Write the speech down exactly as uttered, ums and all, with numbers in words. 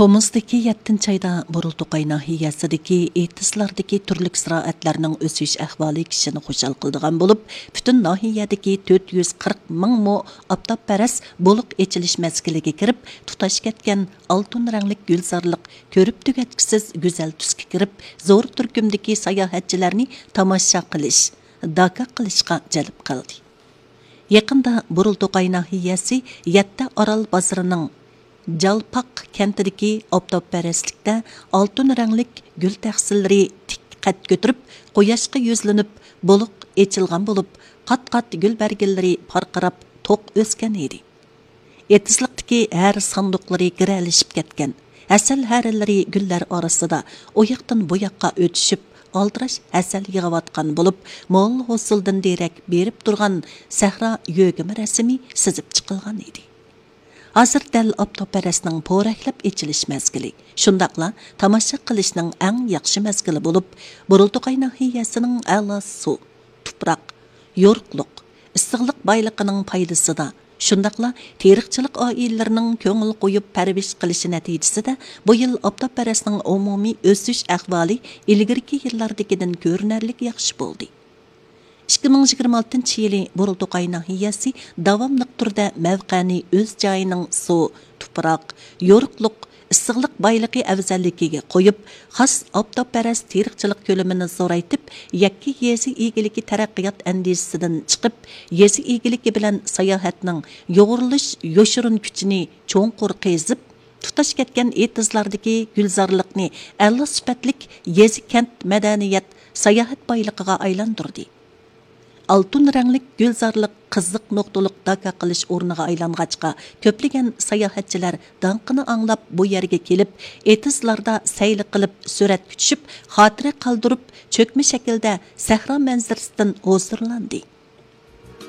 تومۇزدىكى يەتتىنچى ئايدا بۇرۇلتۇقاي ناھىيەسىدىكى ئېتىزلاردىكى تۈرلۈك زىرائەتلەرنىڭ ئۆسۈش ئەھۋالى كىشىنى خۇشال قىلىدىغان بولۇپ، پۈتۈن ناھىيەدىكى تۆت يۈز قىرىق مىڭ مو ئاپتاپپەرەس بولۇق ئېچىلىش مەزگىلىگە كىرىپ، تۇتاش كەتكەن ئالتۇن رەڭلىك گۈلزارلىق كۆرۈپ تۈگەتكۈسىز گۈزەل تۈسكە كىرىپ، زور تۈركۈمدىكى ساياھەتچىلەرنى تاماشا قىلىش، داكا قىلىشقا جەلپ قىلدى. يېقىندا بۇرۇلتۇقاي ناھىيەسى يەتتە ئارال بازىرىنىڭ جالپاق كەنتىدىكى ئاپتاپپەرەسلىكتە ئالتۇن رەڭلىك گۈل تەخسىلىرى تىك قەد كۆتۈرۈپ، قۇياشقا يۈزلىنىپ، بولۇق ئېچىلغان بولۇپ، قات-قات گۈل بەرگىلىرى پارقىراپ، توق ئۆسكەن ئىدى. ئېتىزلىقتىكى ھەر ساندۇقلىرى گىرەلىشىپ كەتكەن، ھەسەل ھەرىلىرى گۈللەر ئارىسىدا ئۇ ياقتىن بۇ ياققا ئۆتۈشۈپ، ئالدىراش ھەسەل يىغىۋاتقان بولۇپ، مول ھوسۇلدىن دېرەك بېرىپ تۇرغان سەھرا يۆگىمە رەسىمى سىزىپ چىقىلغان ئىدى. ھازىر دەل ئاپتاپپەرەسنىڭ پورەكلەپ ئېچىلىش مەزگىلى، شۇنداقلا تاماشا قىلىشنىڭ ئەڭ ياخشى مەزگىلى بولۇپ، بۇرۇلتۇقاي ناھىيەسىنىڭ ئەلا سۇ، تۇپراق، يورۇقلۇق، ئىسسىقلىق بايلىقىنىڭ پايدىسىدا، شۇنداقلا تېرىقچىلىق ئائىلىلىرىنىڭ كۆڭۈل قويۇپ پەرۋىش قىلىشى نەتىجىسىدە، بۇ يىل ئاپتاپپەرەسنىڭ ئومۇمىي ئۆسۈش ئەھۋالى ئىلگىرىكى يىللاردىكىدىن كۆرۈنەرلىك ياخشى بولدى. ئىككى مىڭ يىگىرمە ئالتىنچى يىلى بۇرۇلتۇقاي ناھىيەسى داۋاملىق تۈردە مەۋقەنى ئۆز جايىنىڭ سۇ، تۇپراق، يورۇقلۇق، ئىسسىقلىق بايلىقى ئەۋزەللىكىگە قويۇپ، خاس ئاپتاپپەرەس تېرىقچىلىق كۆلىمىنى زورايتىپ، يەككە يېزا ئىگىلىكى تەرەققىيات ئەندىزىسىدىن چىقىپ، يېزا ئىگىلىكى بىلەن ساياھەتنىڭ يۇغۇرۇلۇش يوشۇرۇن كۈچىنى چوڭقۇر قېزىپ، تۇتاش كەتكەن ئېتىزلاردىكى گۈلزارلىقنى ئەلا سۈپەتلىك يېزا، كەنت، مەدەنىيەت، ساياھەت بايلىقىغا ئايلاندۇردى. ئالتۇن رەڭلىك گۈلزارلىق قىزىق نۇقتىلىق داكا قىلىش ئورنىغا ئايلانغاچقا، كۆپلىگەن ساياھەتچىلەر داڭقىنى ئاڭلاپ بۇ يەرگە كېلىپ، ئېتىزلاردا سەيلە قىلىپ، سۈرەتكە چۈشۈپ، خاتىرە قالدۇرۇپ، چۆكمە شەكىلدە سەھرا مەنزىرىسىدىن ھۇزۇرلاندى.